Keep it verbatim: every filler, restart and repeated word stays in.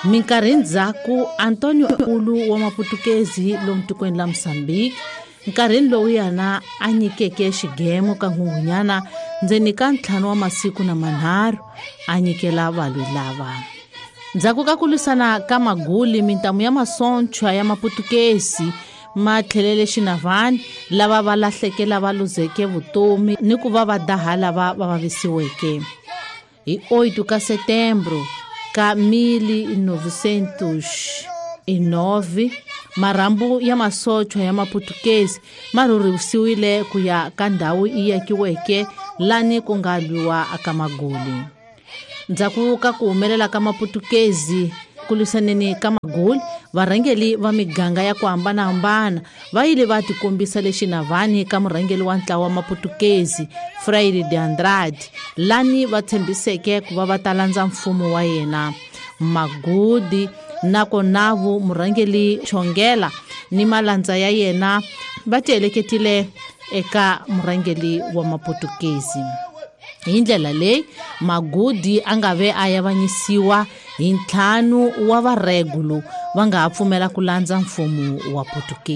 Minkarhi ndzhaku Antonio Ulu wa Maputukezi lomu tikweni la Mozambique, nkarhini lowu yena a nyikeke xigemo ka Nghunghunyana ndzeni ka ntlhanu wa masiku na manharhu a nyikela valwi lava. Ndzhaku ka ku lwisana ka Maguli, mintamu ya masochwa ya Maputukezi ma tlhelele Xinavani, lava va lahleke lava luzeke vutomi ni ku va va daha lava va vavisiweke. Hi oito ka setembro ka mil novecentos e nove, marhambu ya masochwa ya Maputukezi ma rhurhisiwile ku ya ka ndhawu yi akiweke lani ku nga lwiwa ka Maguli. Ndzhaku ka ku humelela ka Maputukezi ku lwisaneni ka Maguli, varhangeli va miganga ya ku hambanahambana va yile va tikombisa le Xinavani ka murhangeli wa ntlawa wa Maputukezi Freire de Andrade, lani va tshembiseke ku va va ta landza mfumo wa yena. Magudi na Konavu, murhangeli Chongela ni malandza ya yena va tiheleketile eka murhangeli wa Maputukezi. Hi ndlela leyi Magudi a nga ve a yavanyisiwa hi ntlhanu wa varegulu va nga ha pfumela ku landza mfumo wa Putukezi.